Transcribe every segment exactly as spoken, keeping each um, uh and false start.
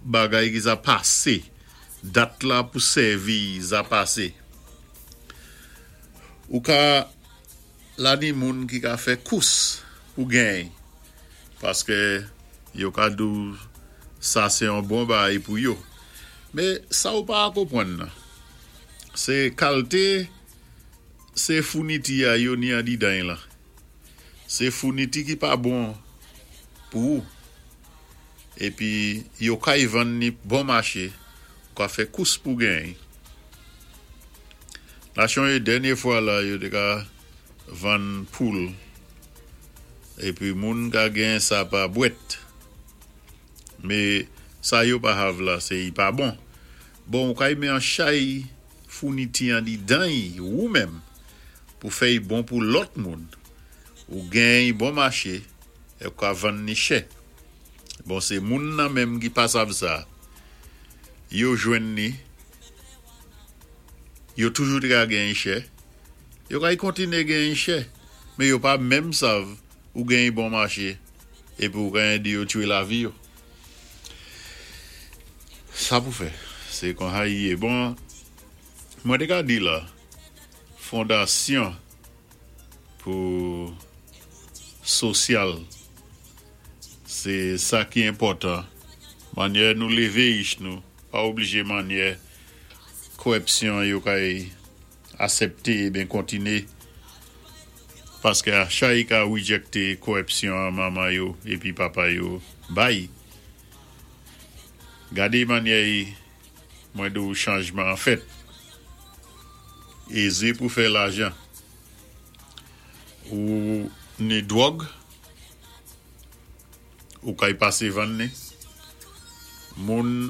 Bagay ki za pasé, dat la pou sèvi za pasé. Ou ka la ni moun ki ka fè kous pou genyen, paské yo ka di-w sa sé yon bon bagay pou yo. Mé sa ou pa konpwann nan, sé kalité sé founiti a yo ni andidan la. Sé founiti ki pa bon pou ou. Épi yo kay vann ni bon maché, ou ka fè kous pou genyen. Nachon yo dènyé fwa la, yo té ka vann poul. Épi moun ka gen sa pa bwèt. Mé sa yo pa hav la, sé i pa bon. Bon, ou kay mé an chay founiti andidan yi, ou menm, pou fè y bon pou lòt moun. Ou gen yi bon maché, é ou ka vann ni chè. Bon, sé moun nan menm ki pa sav sa. Yo jwenn ni, yo toujou té ka gen yi chè. Yo kay kontiné gen yi chè, mé yo pa menm sav ou gen yi bon maché, épi ou kay di yo twé lavi yo. Sa pou fè, sé kon sa i yé. Bon, mwen té ka di la, fondasyon pou sosyal, sé sa ki enpòtan. Mannyè nou lévé ich nou, pa oblijé mannyè kòwipsyon yo kay asèpté ben kontiné. Paské a chay ka rejecté kòwipsyon manman yo épi papa yo bay. Gadé mannyè mwen di-w chanjman an fèt. Ézé pou fè lajan. Ou ni dwòg, ou kay pasé vann ni. Moun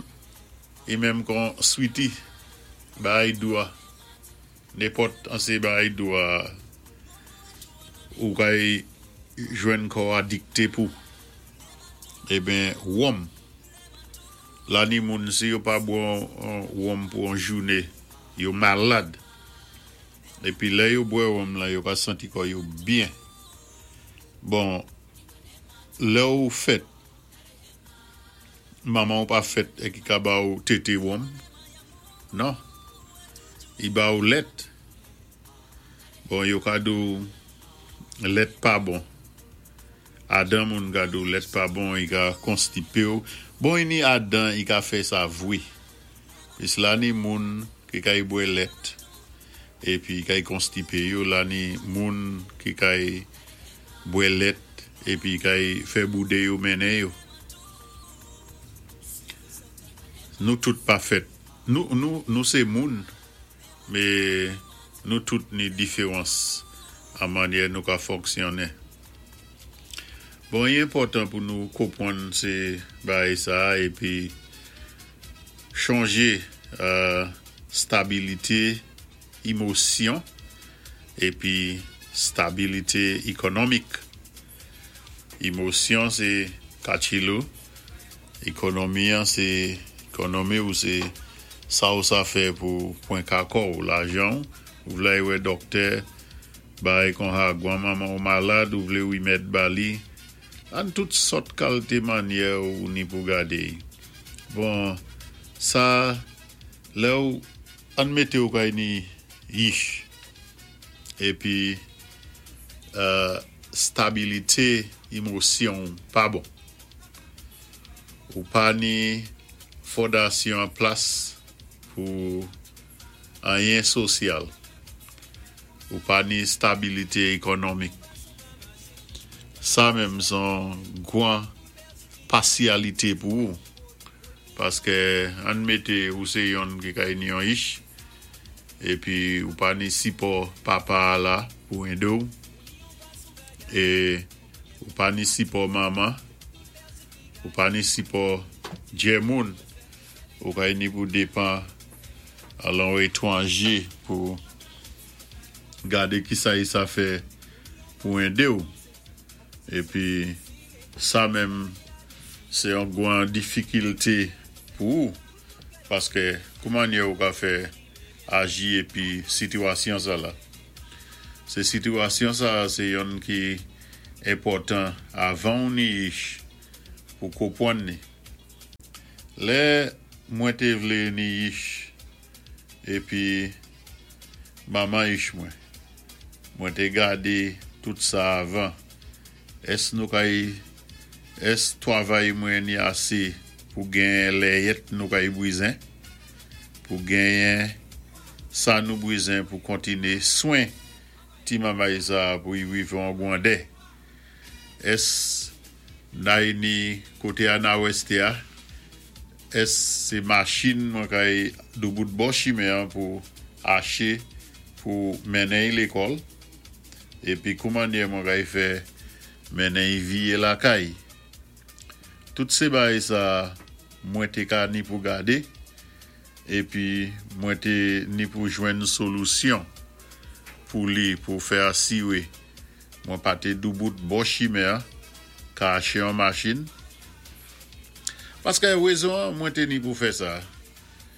i menm kon sweetie, bay dwa. Nenpòt an sé bay dwa ou kay jwenn kò adikté pou. Eben, wonm. La ni moun si yo pa bwè wonm pou an jouné, yo malad. Épi lè yo bwè wonm la, yo ka santi kò yo byen. Bon, lè ou fèt, manman ou pa fèt é ki ka ba ou tété wonm. Non. I ba ou lèt. Bon, yo ka di-w lèt pa bon. Adan moun ka di-w lèt pa bon, i ka konstipé ou. Bon, i ni adan, i ka fè sa vwé. Pis la ni moun ki kay bwè lèt, épi kay konstipé yo, la ni moun ki kay bwè lèt, épi kay fè boudé yo mennen yo. Nou tout pa fèt. Nou, nou, nou sé moun, mé nou tout ni diféwans an mannyè nou ka fonksyonné. Bon, i enpòtan pou nou konpwann sé bagay sa épi chanjé euh, stabilité émosyon épi stabilité ékonomik. Émosyon sé kachilou, ékonomi an sé ékonomi ou sé sa ou sa fè pou pwen kako ou lajan, ou vlé wè dòktè, bagay kon sa gwan manman ou malad, ou vlé wimèd ba li, an tout sòt kalité mannyè ou ni pou gadé. Bon, sa, lè ou an mété ou kay ni yich, épi euh, stabilité émosyon pa bon. Ou pa ni fondasyon an plas pou anyen sosyal. Ou pa ni stabilité ékonomik. Sa menm son gwan pasyalité pou ou. Paské an mété ou sé yon ki kay ni yon ich, épi ou pa ni sipò papa la pou édé ou, é ou pa ni sipò manman, ou pa ni sipò djè moun, ou kay ni pou dépan alon étwanjé pou gadé ki sa i sa fè pou édé ou. Épi sa menm sé yon gwan difikilté pou ou, paské kouman ou ka fè aji épi sitiyasyon sa la. Sé sitiyasyon sa, sé yon ki enpòtan avan ou ni ich pou konpwann ni. Lè mwen té vlé ni yich épi manman yich mwen, mwen té gadé tout sa avan. Ès nou kay, ès twavay mwen ni asé pou genyen lèyèt nou kay bwizen, pou genyen sa nou bwizen pou kontiné swen ti mamay sa pou i wivé an gwandè. Ès nay ni koté Anaweste a, ès sé machin mwen kay doubout bò chimen an pou aché pou mennen-y lékòl, épi koumannyè mwen kay fè mennen-y viyé lakay. Tout sé bagay sa mwen té ka ni pou gadé, épi mwen té ni pou jwenn solisyon pou li pou fè asiwé mwen pa té doubout bò chimen an ka aché an machin. Paské wézon mwen té ni pou fè sa,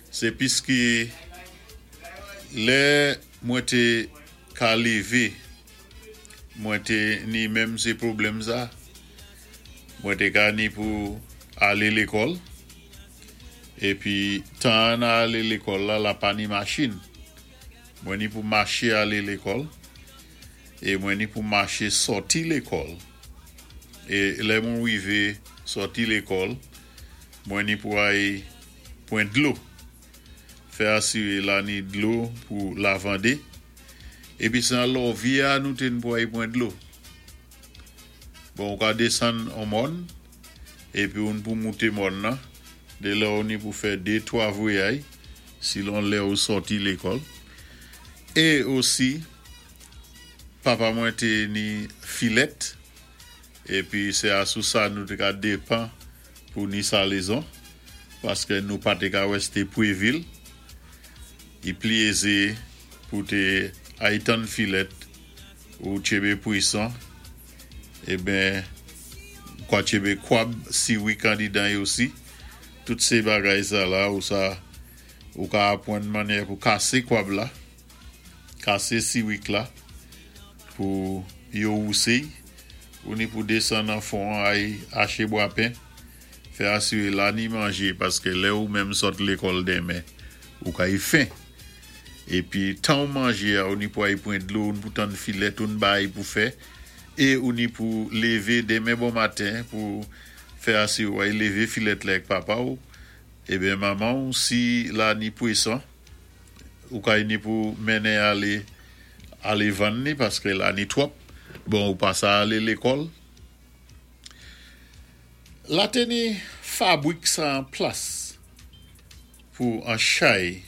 sé piski lè mwen té ka lévé, mwen té ni menm sé pwoblèm sa, mwen té ka ni pou alé lékòl, épi tan an alé lékòl la, la pa ni machin. Mwen ni pou maché alé lékòl, é mwen ni pou maché sòti lékòl. É lè mwen wivé sòti lékòl, mwen ni pou ay pwan dlo. Fè asiwé la ni dlo pou lavandé. Épi sé an lòvyè a nou té ni pou ay pwan dlo. Bon, ou ka désann an mòn, épi ou ni pou mouté mòn nan, dé lè ou ni pou fè dé, twa vwayay, silon lè ou sòti lékòl. É osi, papa mwen té ni filèt, épi sé asou sa nou té ka dépan pou ni salezon, paské nou pa té ka wèsté pwé vil. I pli ézé pou té ay tann filèt ou tchébé pwéson, eben, kwa tchébé kwab siwik andidan yo osi. Tout sé bagay sa la ou sa ou ka apwann mannyè pou kasé kwab la, kasé siwik la pou yo wousé, ou ni pou désann an fon ay aché bwapen, fè asiwé la ni manjé paské lè ou menm sòt lékòl denmen, ou kay fen. Épi tan ou manjé a, ou ni pou ay pwan dlo, ou ni pou tann filèt, ou ni bay pou fè, é ou ni pou lévé denmen bon maten pou fè asiwé ay lévé filèt la ak papa ou, eben manman ou si la ni pwéson, ou kay ni pou mennen alé alé vann ni paské la ni twòp, bon ou pa sa alé lékòl. La té ni fabwik sa an plas pou an chay,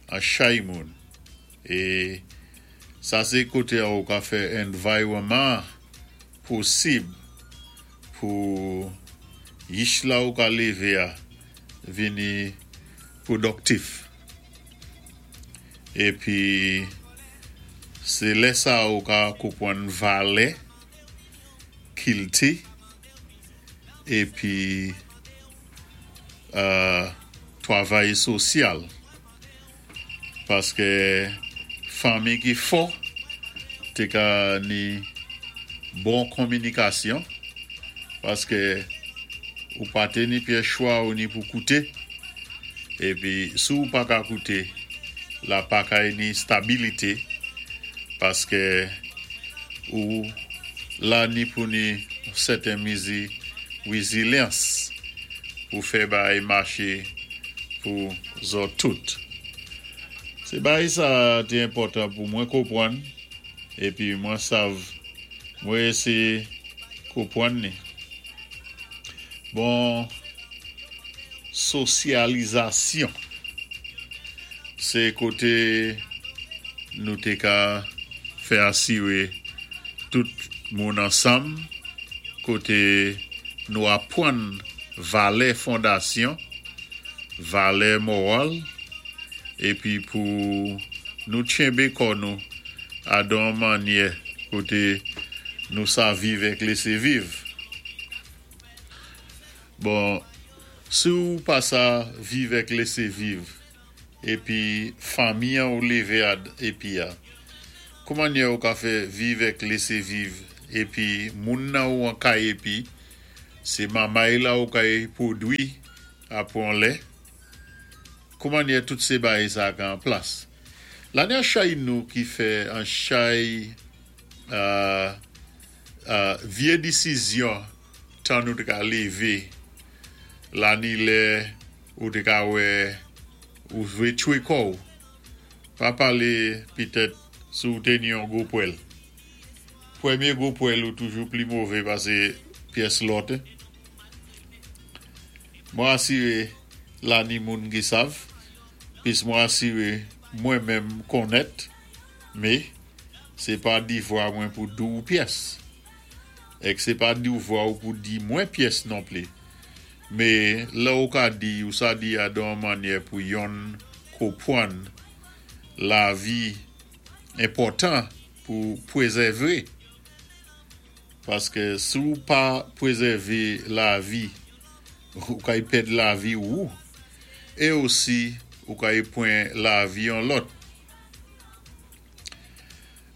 an chay moun. É sa sé koté a ou ka fè environman posib pou yich la ou ka lévé a vini pwodiktif. Épi sé lè sa ou ka konpwann valè kilti épi euh, twavay sosyal. Paské fanmi ki fò té ka ni bon kominikasyon paské ou pa té ni pyès chwa ou ni pou kouté épi si ou pa ka kouté la pa kay ni stabilité paské ou la ni pou ni sèten mizi wézilyans pou fè bagay maché pou zòt tout. Sé bagay sa té enpòtan pou mwen konpwann épi mwen sav mwen éséyé konpwann ni. Bon, sosyalizasyon sé koté nou té ka fè asiwé tout moun ansanm, koté nou apwann valè fondasyon, valè moral, épi pou nou tchenbé kò nou adon mannyè koté nou sa viv èk lésé viv. Bon, si ou pa sa viv èk lésé viv, épi fanmi an ou lévé ad épi a, koumannyè ou ka fè viv èk lésé viv, épi moun nan ou an kay épi, sé mamay la ou kay pwodwi Apwé on lè. Kouman tout sé bagay sa ka an plas. La ni an chay nou ki fè an chay euh, euh, vyé disizyon tan nou té ka lévé la ni lè ou té ka wè ou vwé tchwé kò-w. Pa palé pitèt si ou té ni yon gwo pwèl. Pwémyé gwo pwèl ou toujou pli mové pasé pyès lòt. Mwen asiré la ni moun ki sav, pis mwen asiré mwen menm konnèt, mé sé pa divwa mwen pou di-w pyès. Èk sé pa divwa ou pou di mwen pyès non pli. Mé lè ou ka di, ou sa di a dan mannyè pou yonn konpwann lavi enpòtan pou pwézèvé. Paské si ou pa pwézèvé lavi, ou kay pèd lavi ou, é osi ou kay pwan lavi yon lòt.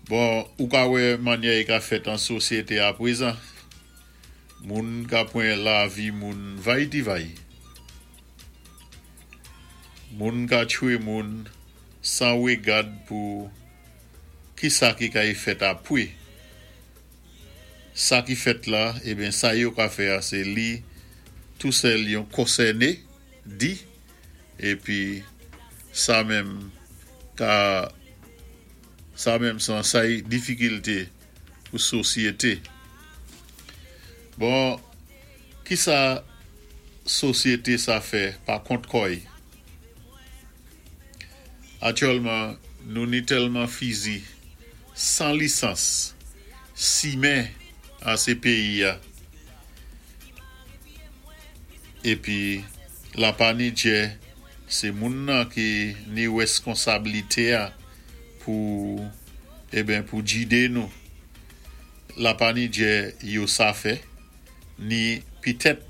Bon, ou ka wè mannyè i ka fèt an sosyété apwézan. Moun ka pwan lavi moun vay ti vay. Moun ka tchwé moun san wégad pou ki sa ki kay fèt apwé. Sa ki fèt la, eben sa yo ka fè a sé li tou sèl yon konsèné di, épi sa menm ka sa menm san sa y difikilté pou sosyété. Bon, ki sa sosyété sa fè pa kont kò-y? Aktyèlman, nou ni tèlman fizi san lisans simen an sé péyi a. Épi la pa ni djè sé moun nan ki ni wèskonsablité a pou eben pou jidé nou. La pa ni djè yo sa fè, ni pitèt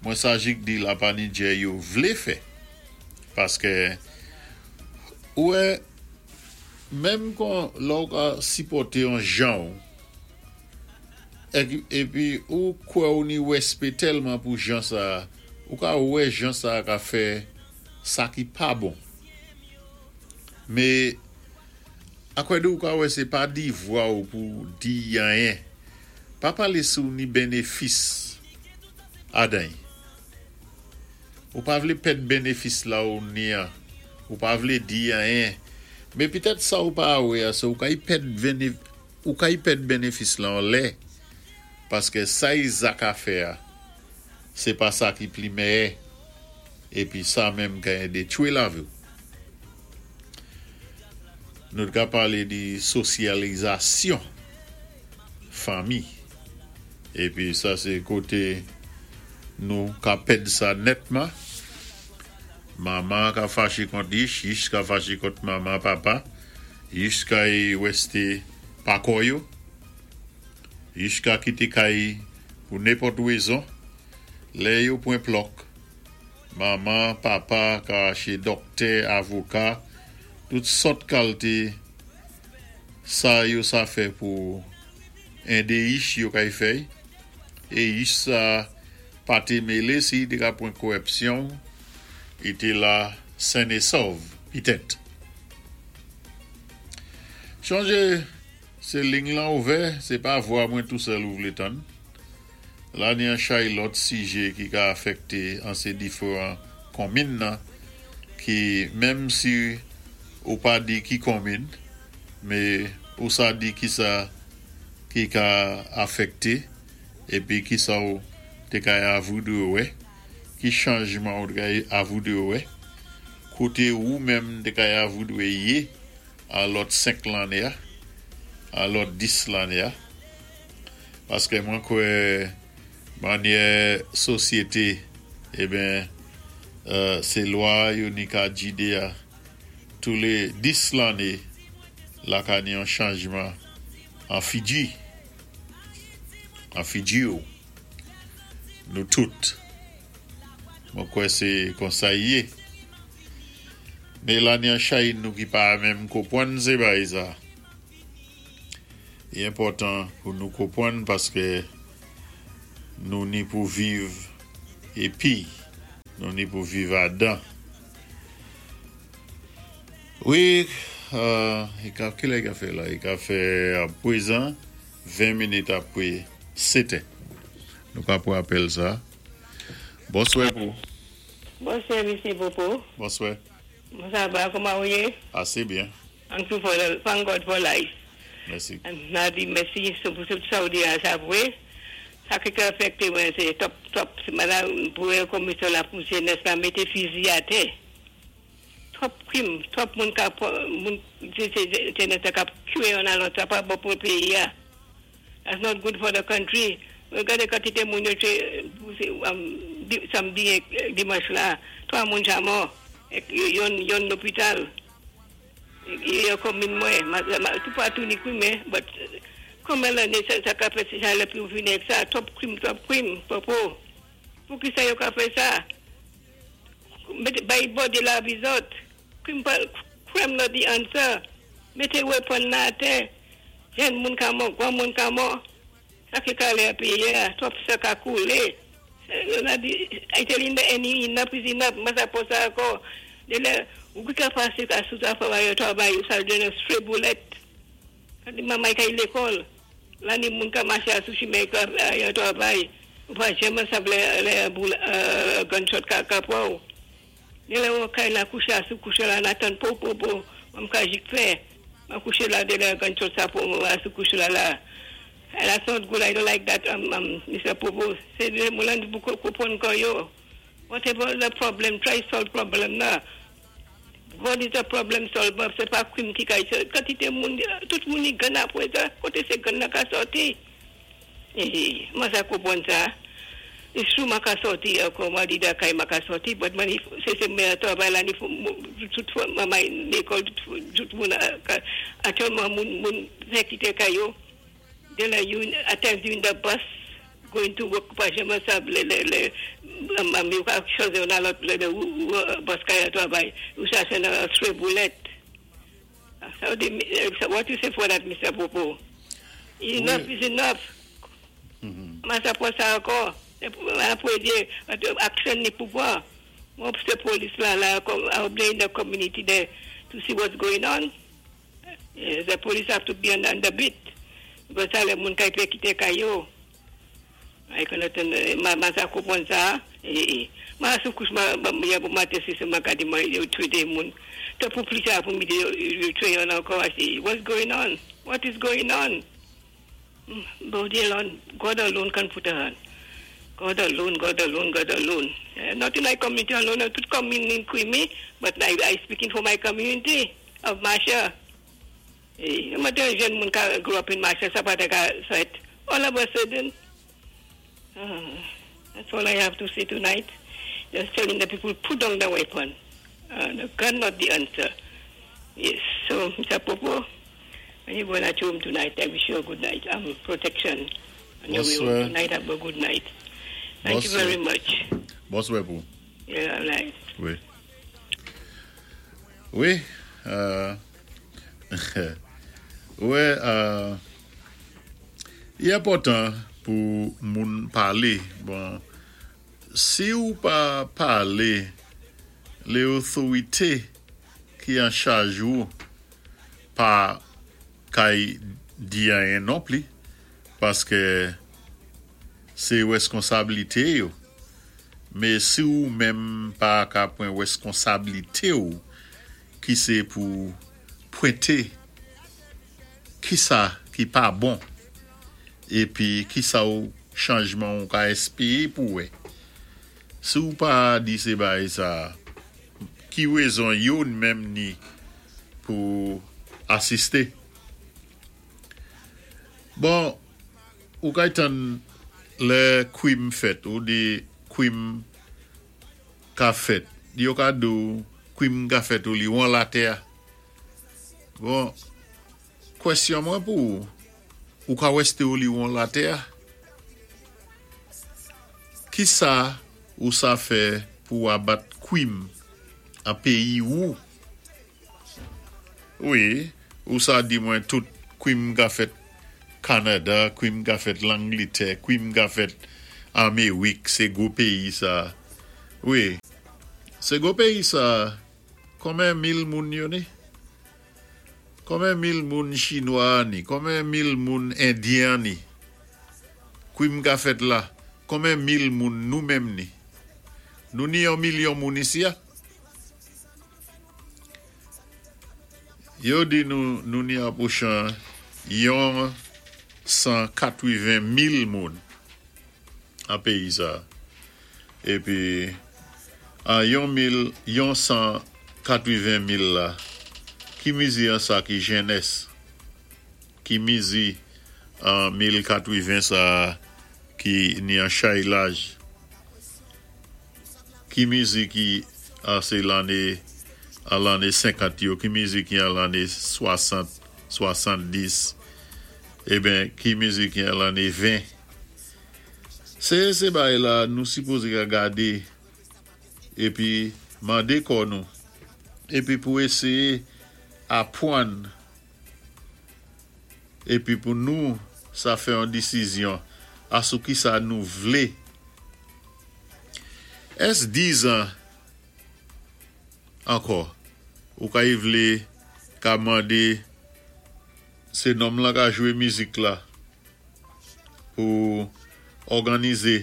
mwen sa jik di la pa ni djè yo vlé fè. Paské ouwè menm kon lè ou ka sipòté yon jan ou, épi ou kwè ou ni wèspé tèlman pou jan sa, ou ka wè jan sa ka fè sa ki pa bon. Mé akwè di ou ka wè sé pa divwa ou pou di anyen. Pa palé si ou ni bénéfis adan. Ou pa vlé pèd bénéfis la ou ni an. Ou pa vlé di anyen. Mé pitèt sa ou pa wè a, sé ou kay pèd béné, ou kay pèd bénéfis la an lè. Paské sa i ka fè a, sé pa sa ki pli mèyè. Épi sa menm ka édé tchwé lavi ou. Nou ka palé di sosyalizasyon fanmi. Épi sa sé koté nou ka pèd sa nètman. Manman ka faché kont yich, yich ka faché kont manman, papa. Yich kay wèsté pa kò yo. Yich ka kité kay pou nenpòt wézon. Lè yo pwan plòk. Manman, papa ka aché dòktè, avoka, tout sòt kalité sa yo sa fè pou édé yich yo kay fè. É yich sa pa té mélé si té ka pwan kòwipsyon, i té la sen é sòv, pitèt. Chonjé, sé ling lan ouvè, sé pa vwa mwen tou sèl ou vlé tann. La ni an chay lòt sijé ki ka afèkté an sé diféwan konmin nan, ki menm si ou pa di ki konmin, mé ou sa di ki sa ki ka afèkté, épi ki sa ou té kay avoudwé wè, ki chanjman ou té kay avoudwé wè, koté ou menm té kay avoudwé yé an lòt senk lanné a, an lòt dis lanné a. Paské mwen kwè mannyè sosyété, eben, euh, sé lwa yo ni ka jidé a tou lé dis lanné la ka ni yon chanjman an figi. An figi ou. Nou tout. Mwen kwè sé konsa i yé. Mé la ni an chay nou ki pa menm konpwann sé bagay sa. I enpòtan pou nou konpwann paské nou ni pou viv épi Nou ni pou viv adan. Wi, euh, i ka, ki lè i ka fè la? I ka fè a pwézan ven minit apwé sèt. Nou ka pou apèl sa. Bonswè pou. Bonswè, Misye Popo. Bonswè. Sa va, kouman ou yé? Asé byen. Thank you for the, thank God for life. Mèsi. And n a di mèsi pou tout sa ou di a sa vwé. Sa ki ka afekté mwen sé twòp twòp madam pou komisyon la pou jenès la mété fizi atè. Twòp krim, twòp moun ka moun sé jenès la k ap twé youn a lòt, sa pa bon pou péyi a. That's not good for the country. Gadé kantité moun yo twé samdi é dimanch la, twa moun ja mò, youn youn lopital. Yo komin mwen, tout patou ni krim, but kouman lanné sa sa ka fèt sa lè pou vini ak sa, twòp krim, twòp krim, Popo. Pou ki sa yo ka fè sa? Mété bay bòdè lavi zòt. Krim pa crime not the answer. Mété weapon nan atè. Jenn moun ka mò, gwan moun ka mò. Sa ki kalé péyi a, twòp san ka koulé. N a di, I telling the enemy enough is enough, mwen sa pou sa ankò. Dé lè, ou ki ka pasé ka sou ta fwa yo travay, ou sa jwenn stray bullet. Di manmay ka lekòl. La ni moun ka maché sou chimen ka yo travay. Ou pa janmen sav lè, lè boul, euh, gunshot ka ka pran ou. Dé lè ou kay la kouché sou kouché la, n ap tann po po po, m ka jik fè. M kouché la dé lè gunshot sa pou sou kouché la la. And that's not good. I don't like that, um, um, Mister Popo. Sé moun pou konpwann kon yo. Whatever the problem, try solve problem now. God is a problem solver. Sé pa krim ki ka kantité moun, tout moun ni gun apwé sa, koté sé gun nan ka sòti. Eh, mwen sa konpwann sa. It's true mwen ka sòti ankò, mwen di da kay mwen ka sòti, but mwen sé sé mwen travay la ni tout manmay lekòl, tout moun aktyèlman moun moun fè kité kay yo. Dé lè you at times you in the bus going to work, pa janmen sav lè lè lè yo ka chwazi youn a lòt lè lè bus ka al travay, ou chaché nan stray bullet. So the, what you say for that, Mister Popo? Enough is enough. Mwen sa pou sa ankò. Apwé di, action ni pouvwa. Mwen sé polis la la, I'll blame the community there to see what's going on. The police have to be on, on the beat. Because sa lè moun kay pé kité kay yo. Ay konnen mwen sa konpwann sa. Mwen sou kouch mwen ya pou maten si se mwen ka di mwen yo twé dé moun. Te pou plis sa pou mi di yo twé youn ankò. I say, what's going on? What is going on? God alone, God alone can put a hand. God alone, God alone, God alone. Uh, not in my community alone, not tout community in but I, I speaking for my community of Masha. Eh, mwen té jenn moun ka grew up in Masha, sa pa té ka fèt. All of a sudden, uh, that's all I have to say tonight. Just telling the people, put down the weapon. Uh, the gun not the answer. Yes, so, Mister Popo, when you go at home tonight, I wish you a good night. Um, protection. On your way home Bonswè. Tonight, have a good night. Thank you Bonswè. Very much. Bonswè pou. Yeah, right. Wi. Wi, euh, wè, euh, i enpòtan pou moun palé. Bon, si ou pa palé, lé otorité ki an chaj ou pa kay di anyen non pli, paské sé wèskonsabilité yo. Mé si ou menm pa ka pwan wèskonsabilité ou, ki sé pou pwenté ki sa ki pa bon, épi ki sa ou chanjman ou ka éspéwé pou wè. Si ou pa di sé bay sa, ki wézon yo menm ni pou asisté. Bon, ou kay tann lè kwim fèt, ou di kwim ka fèt. Yo ka di ou kwim ka fèt ou li wan latè. Bon, kwèsyon mwen pou ou, ou ka wèsté ou li wan latè? Ki sa ou sa fè pou abat kwim a péyi ou? Wi, ou sa di mwen tout kwim ka fèt Kanada, kwim ka fèt Langlitè, kwim ka fèt Amerik, sé gwo péyi sa. Wi, Sé gwo péyi sa, konmen mil moun yo ni? Konmen mil moun Chinwa ni? Konmen mil moun Endyen ni? Kwim ka fèt la, konmen mil moun nou menm ni? Nou ni yon milyon moun isi a? Yo di nou nou ni apwochan yon san katwiven mil moun an péyi sa. Épi an yon mil yon san katwiven mil la, ki mizi an sa ki jènès? Ki mizi an mil katwiven sa ki ni an chay laj? Ki mizi ki an sé lanné an lanné senkant yo, ki mizi ki an lanné swasant, swasanndis, eben ki mizi ki an lanné ven? Sé sé bagay la nou sipozé ka gadé épi mandé kò nou épi pou éséyé apwann épi pou nou sa fè yon désizyon asou ki sa nou vlé. Ès dizan ankò ou kay vlé ka mandé sé nonm lan ka jwé mizik la pou òganizé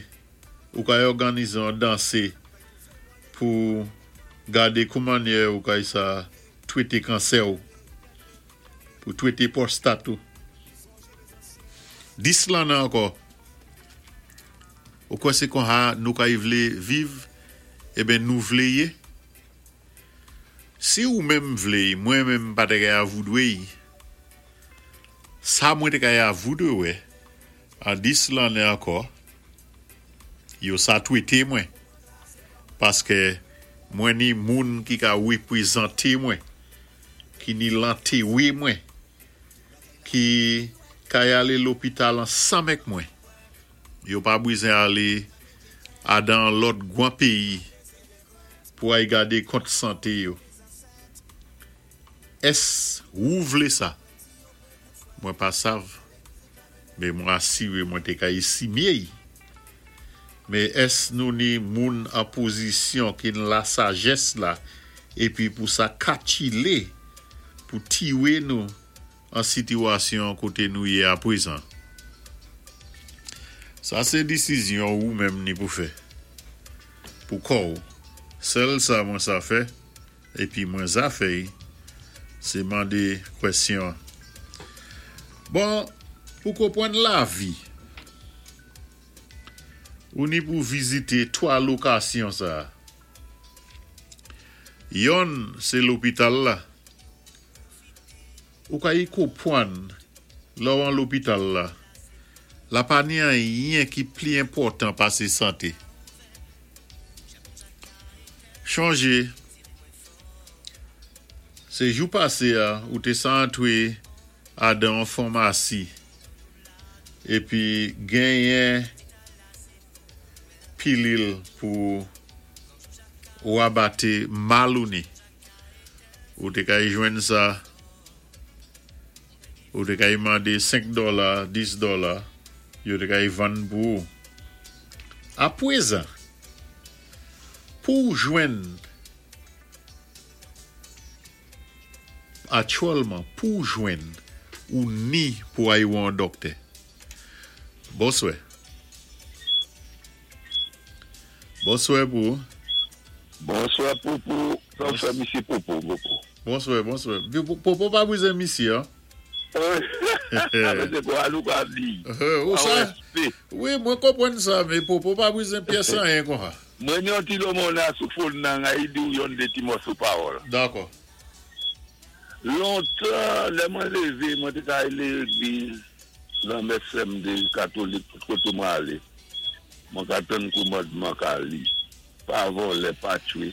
ou kay òganizé yon dansé pou gadé kou mannyè ou kay sa twété kansè ou pou twété pwostat ou. Dis lanné ankò ou kwè sé konsa nou kay vlé viv eben nou vlé yé? Si ou menm vlé, mwen menm pa té kay avoudwé y. Sa mwen té kay avoudwé wè an dis lanné ankò yo sa twété mwen paské mwen ni moun ki ka wépwézanté mwen, ki ni lantéwé mwen, ki kay alé lopital ansanm èk mwen. Yo pa bizwen alé adan lòt gwan péyi pou ay gadé kont santé yo. Ès ou vlé sa? Mwen pa sav, mé mwen asiré mwen té ka éstimé y. Mé ès nou ni moun an pozisyon ki ni la sajès la épi pou sa katchilé pou tiwé nou an sitiwasyon koté nou yé apwézan? Sa sé désizyon ou menm ni pou fè. Pou kò ou. Sèl sa mwen sa fè épi mwen za fè y, sé mandé kwèsyon. Bon, pou konpwann lavi, ou ni pou vizité twa lokasyon sa. Yonn sé lopital la. Ou kay konpwann lè ou an lopital la, la pa ni anyen ki pli enpòtan pasé santé. Chonjé, sé jou pasé a ou té sa antwé adan an famasi épi genyen pilil pou ou abaté mal ou ni. Ou té kay jwenn sa, ou té kay mandé senk dola, dis dola, yo té kay vann pou ou. Apwézan, pou jwenn aktyèlman, pou jwenn ou ni pou ay wè an dòktè. Bonswè. Bonswè pou ou. Bonswè Popo, bonswè misye Popo, Popo. Bonswè, bonswè. Popo pa bizwen misye, an? Sé kwa nou ka di? Ou sa? Wi, mwen konpwann sa, mé Popo pa bizwen pyès anyen konsa. Mwen yon ti lomona sou phone nan a di ou yon dé ti mòso pawòl. Dakò. Lontan, lè mwen lévé, mwen té ka alé légliz, nan mès M D katolik, tout koté mwen alé. Mwen ka tann kòmandman ka li. Pa vòlè, pa twé,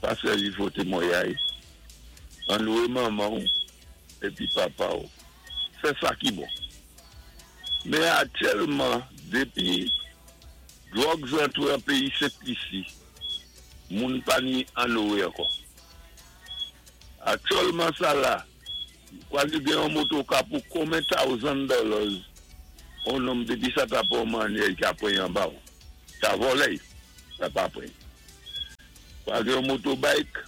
pa sèvi fo témwayaj. Anowé manman ou, épi papa ou. Fè sa ki bon. Mé aktyèlman, dépi drugs antwé an péyi Sent-Lisi, moun pa ni anowé ankò. Aktyèlman sa la, kwa li gen yon motoka pou konmen thousand dollars, on nonm dépi sa ta pou mannyè, i ka pran anba ou. Ka vòlè, sa pa pran. Pa gen yon motorbike,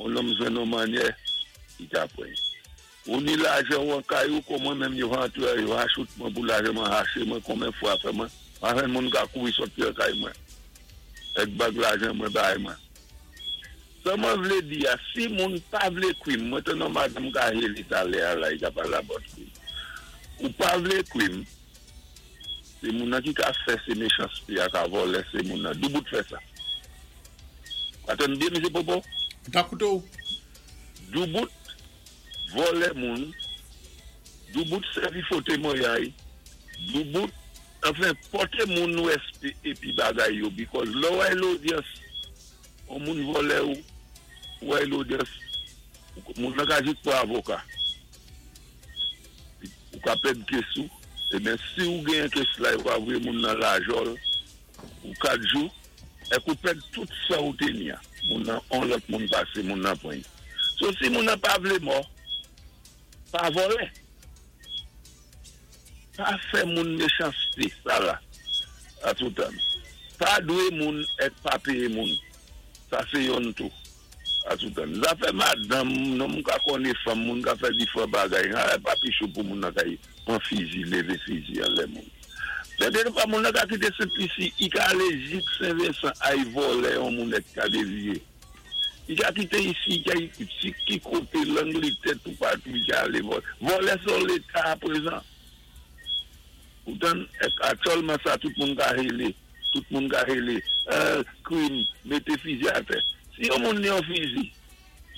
on nonm jwenn yon mannyè, i ka pran. Ou ni lajan ou an kay ou, kon mwen menm yo rantre, yo shoot mwen pou lajan mwen raché mwen konmen fwa fè mwen. Mwen moun ka kouri soti an kay mwen. Ek bag lajan mwen bay mwen. Sa mwen vlé di ya, si moun pa vlé kwim, mwen te nan madam ka heli talè a la, i ka pa la bot kwim. Ou pa vlé kwim, se moun nan ki ka fè se méchanceté a ka vòlè se moun nan. Doubout fè sa. Atann byen, Misye Popo? Ta kouto. Doubout vòlè moun, doubout sèvi fo temwayay, doubout, enfin, pòté moun nou S P épi bagay yo, because lò wè l'audience, on moun vòlè ou, wè l'audience, moun nan ka jis pou avoka. Ou ka pèd case ou, e ben si ou gen case la, ou ka voyé moun nan lajòl, ou kat jou, ek ou pèd tout sa ou te ni ya. Moun nan, on lòt moun pasé, moun nan pran. So si moun nan pa vlé mò, pa vòlè. Pa fè moun méchanceté, sa la, a toutan. Pa dwé moun ek pa péyé moun. Sa sé yon tou, a toutan. Zafè madanm, non moun ka konné fanm, moun ka fè di fò bagay, nan pa pi chou pou moun nan ka yi, pran fizi, lévé fizi an lè moun. Men de pa moun nan ka kité Sent-Lisi, i ka alé jik Sen-Vensan ay vòlè yon moun ek ka déviyé. I ka kité isi, i ka isi ki koté l'Angletè tout patou, i ka alé vòlè. Vòlè son Léta a prezan. Poutan, aktyèlman sa, tout moun ka hélé, tout moun ka hélé, euh, krim, mété fizi atè. Si yon moun ni yon fizi,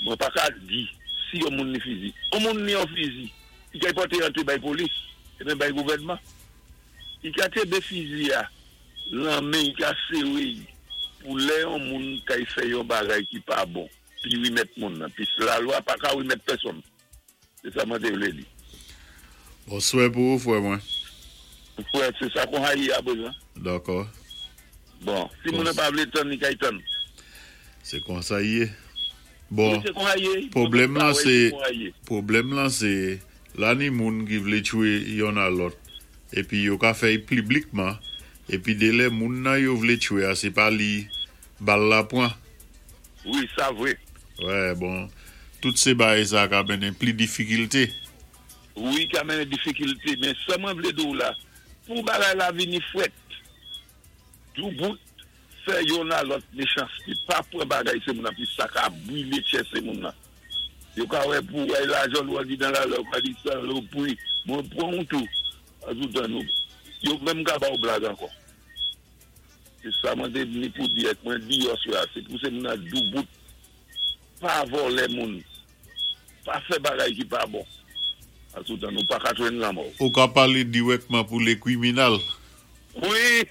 mwen pa ka di, si yon moun ni fizi, yon moun ni yon fizi, i ka pòté antré bay polis, é ben bay gouvèdman. I ka kenbé fizi a, lan men i ka séwé, pou lè yon moun ka y fè yon bagay ki pa bon, pi wimèt moun nan, pi la lwa pa ka wimèt pèsonn. Se sa mwen te vlé di. Bonswè pou ou, frè mwen. Frè, se sa kon hayi a bezan. Dakò. Bon, si moun nan pa vlé tann, li ka y tann. Se kon sa yé. Bon, Oui, se kon hayi. Pwoblèm lan Ouais, se, se kon hayi. Pwoblèm lan se, la ni moun ki vlé tchwé yon a lòt, épi yo ka fè piblikman, épi dé lè moun nan yo vlé tchwé a, sé pa li bal la pran. Wi, sa vwé. Wè, bon, tout sé bagay sa ka mennen pli difikilté. Wi, ka mennen difikilté, men sa mwen vlé di ou la, pou bagay la vini fwèt, doubout, fè yon a lòt méchanceté, pa pran bagay sé moun nan, pi sa ka bwilé tchè sé moun nan. Yo ka wè pou wè lajan lwa di dan la lò, ka di sa lò pou, mwen pran ou tou, a toutan nou. Yo menm ka ba ou blag ankò. Se sa mwen te vini pou di ek, mwen di yo swa, se pou se moun nan doubout, pa vòlè moun, pa fè bagay ki pa bon. A toutan nou pa ka jwenn lanmò. Ou ka palé dirèkman pou lé kriminal. Wi,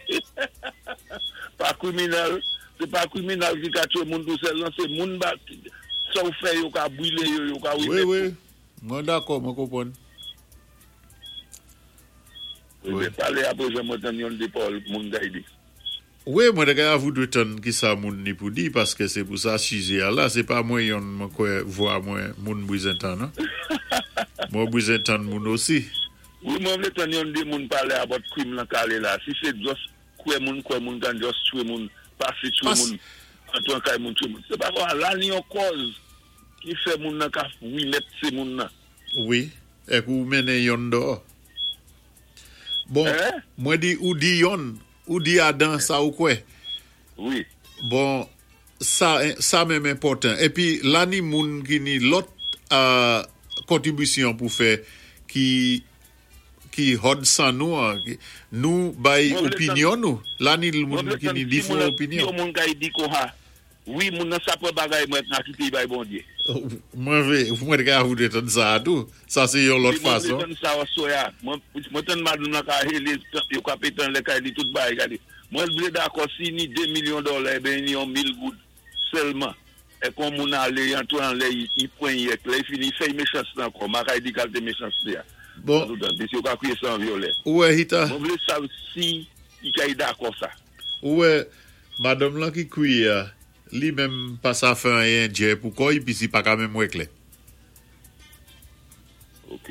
pa kriminal, se pa kriminal ki ka tchwé moun tou sèl, nan se moun ba, sa ou fè yo ka bwilé yo, yo ka Wi, wimèt. wi, mwen dakò, mwen konpwann. Wi, men palé apwé jan mwen tann yon dé pawòl moun gay di. Wi, mwen te ka avou dwé tann ki sa moun ni pou di, paské sé pou sa sijè a la, sé pa mwen yon mwen kwè vwa mwen moun bwizen tan, non? Mwen bwizen tan moun osi. Wi, mwen vlé tann yon dé moun palé about krim lan kale la. Si sé just kwè moun kwè moun kan just tchwé moun, pasé tchwé Pas- moun, antwan kay moun tchwé moun. Se pa kwa, la ni yon kòz ki fè moun nan ka wimèt sé moun nan. Wi, ek ou mennen yon dò. Bon, Hein? mwen di ou di yon, ou di adan sa ou kwè. Wi. Bon, sa, sa menm enpòtan. Épi, la ni moun ki ni lòt euh, kontribisyon pou fè ki ki hòd san nou, an, ki- nou bay Mwen vlé opinyon nou. La ni Mwen moun vlé ki tann ni si di moun fon nan- si opinyon. yon moun kay di kon ha, wi, moun nan sa pran bagay mwen nan kité bay Bondyé. Mwen vlé, mwen ka avou dwé tann sa a tou. Sa sé yon lòt Wi, mwen vlé fason. tann sa soya. Mwen, mwen tann madanm nan ka hele, yo ka pétan lè kay li tout bagay gade. Mwen vlé dakò si ni de milyon dola, ben ni yon mil goud sèlman. É kon moun alé, antwé an lè, i, i pran yek, lè i fini, fè méchanceté ankò. Ma kay di kalte méchanceté a. Bon, Toutan, pis yo ka kwiyé san vyolè. Ouè Hita, Mwen vlé sav si i kay dakò sa. Ouè, madanm lan ki kwiyé a, li menm pa sa fè anyen djè pou kò'y, pi si pa ka menm wè klè. Ok.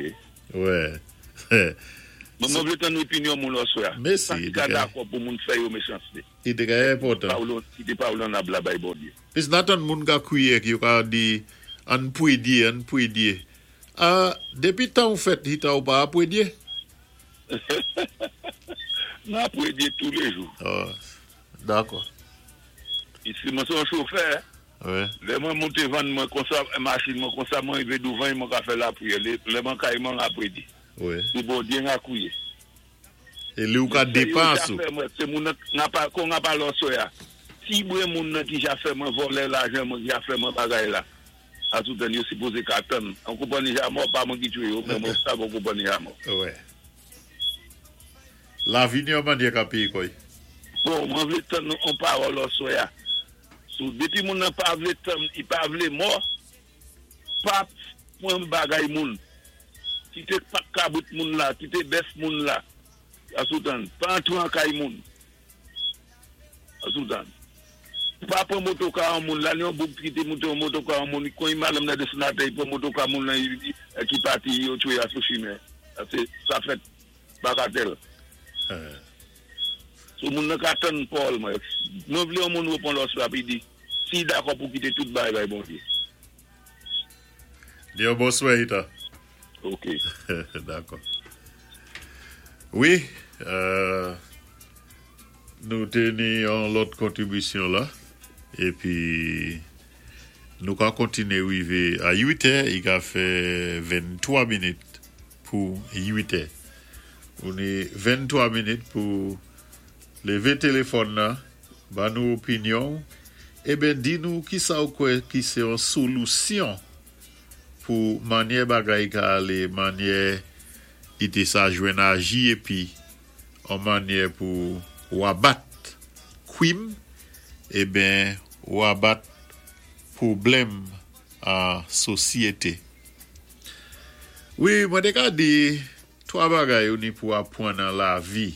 Ouè. Mwen mwen vlé tann opinyon moun aswè. Mèsi. Sa ki ka dakò pou moun fè yo méchanceté. I té ka enpòtan. Ki té pawòl an la bay Bondyé. Pis nan moun ka kwiyé ki yo ka di ann pwédyé, ann pwédyé. Ah, dépi tan ou fèt hita ou pa pwédyé? Nan pwédyé tou lé jou. Oh, dakò. Isi mwen sé yon chofè. Wi. Lè mwen monté van mwen konsa machin mwen konsa mwen rivé douvan mwen ka fè lapriyè. Lè mwen kay mwen a pwédyé. Wi. Sé Bondyé n'a kwiyé. É li ou ka dépans ou. Sé moun nan pa kon n'a pa lò ya. Si mwen moun nan ki ja fè mwen vòlè lajan mwen ki ja fè mwen bagay la. A tout an yo sipozé ka tann. An konpanni ja mò pa mwen ki twé yo, men mwen sa bon konpanni ja mò. Wi. Lavi ni yon mannyè ka péyé kò'y. Bon, mwen vlé tann yon pawòl aswè a. Sou dépi moun nan pa vlé tann, i pa vlé mò, pa pwan bagay moun. Kité pak kabrit moun la, kité bèf moun la. A soutan, pa antré an kay moun. A soutan. Pa pwan motoka an moun la, yon boug ki té monté an motoka an moun, kon i madanm nan desann atè, i pwan motoka moun lan ki pati yo twé a sou chimen. Sa sa fèt Bagatelle. Sou moun nan ka tann pawòl mwen. Mwen vlé yon moun réponn lòs la pi di, si dakò pou kité tout bagay bay Bondyé. Di yon bonswa Ita. Ok. Dakò. Wi, euh, nou té ni yon lòt kontribisyon la. Épi, nou ka kontiné rivé a uit è, i ka fè venntwa minit pou uit è. Ou ni venntwa minit pou lévé téléfòn nan, ba nou opinyon, é ben di nou ki sa ou kwè ki sé yon solisyon pou mannyè bagay ka alé, mannyè i té sa jwenn aji épi an mannyè pou ou abat kwim, é ben ou abat pwoblèm an sosyété. Wi, mwen té ka di twa bagay ou ni pou apwann nan lavi.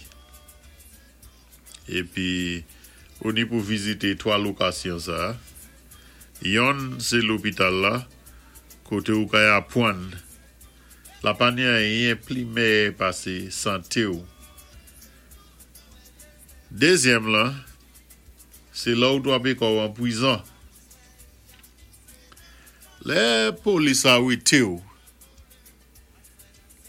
Épi ou ni pou vizité twa lokasyon sa. Yonn sé lopital la, koté ou kay apwann. La pa ni anyen pli mèyè pasé santé ou. Dézyèm la, sé la ou twapé kò'w an pwizon. Lè polis arété ou.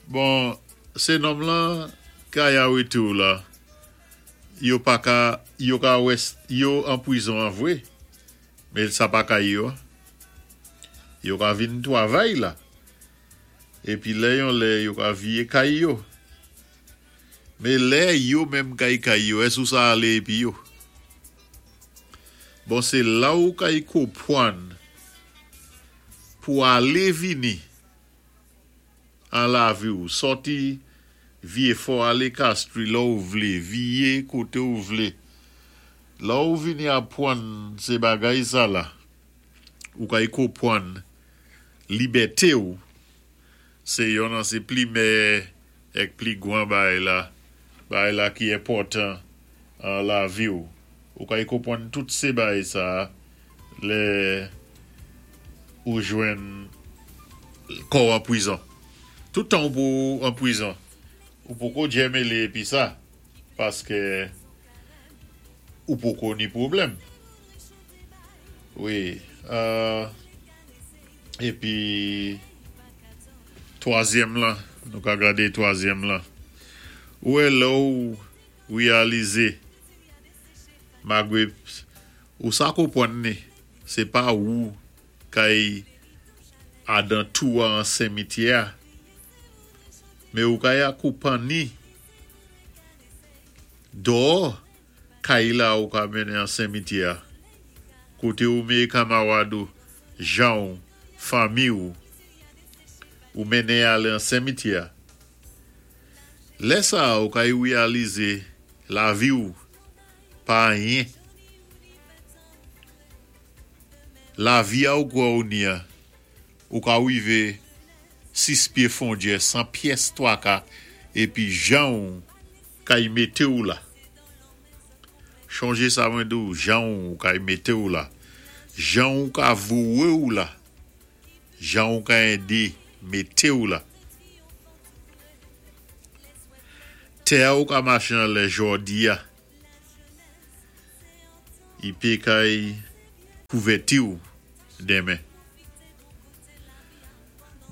Bon, sé nonm lan kay arété ou la. Yo pa ka yo ka wè yo an pwizon an vwé, men sa pa kay yo. Yo ka vin twavay la. Épi lè yon lè yo ka viyé kay yo. Men lè yo menm kay kay yo, èske ou sa alé épi yo? Bon, sé la ou kay konpwann pou alé vini an lavi ou sòti Vyé-Fò alé Castries la ou vlé, viyé koté ou vlé. La ou vini apwann sé bagay sa la. Ou kay konpwann libèté ou. Sé yon nan sé pli mèyè èk pli gwan bagay la, bagay la ki enpòtan an lavi ou. Ou kay konpwann tout sé bagay sa lè ou jwenn kò'w an pwizon. Tout tan ou pou an pwizon, ou poko djè mélé épi sa, paské ou poko ni pwoblèm. Wi, euh, épi twazyèm la, nou ka gadé twazyèm la. Ou wè lè ou réalizé malgwé ou sa konpwann ni, sé pa ou kay adan tou an simityè, men ou kay akonpanni dò kay la ou ka mennen an simityè. Koté ou mé kanmarad ou, jan ou, fanmi ou, ou mennen alé an simityè. Lè sa ou kay réalizé lavi ou pa anyen. Lavi a ou kwè ou ni a, ou ka rivé sis pyé fon djè san pyès twaka épi jan ou kay mété ou la. Chonjé sa mwen di ou, jan ou kay mété ou la. Jan ou ka vouwé ou la. Jan ou ka édé mété ou la. Tè ou ka maché anlè jòdi-a, i pé kay kouvèti ou denmen.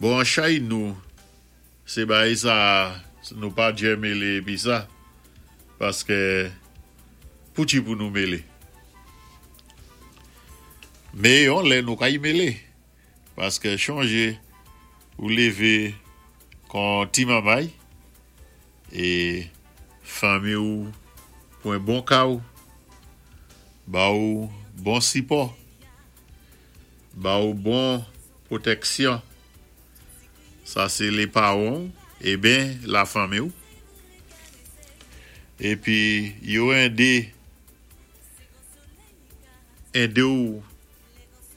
Bon, an chay nou, sé bagay sa, nou pa djé mélé épi sa, paské pouti pou nou mélé. Mé yon lè nou kay mélé, paské chonjé ou lévé kon ti manmay, é fanmi ou pwan bon ka ou, ba ou bon sipò, ba ou bon pwotèksyon. Sa sé lé pawan é ben la fanmi ou. Épi yo édé édé ou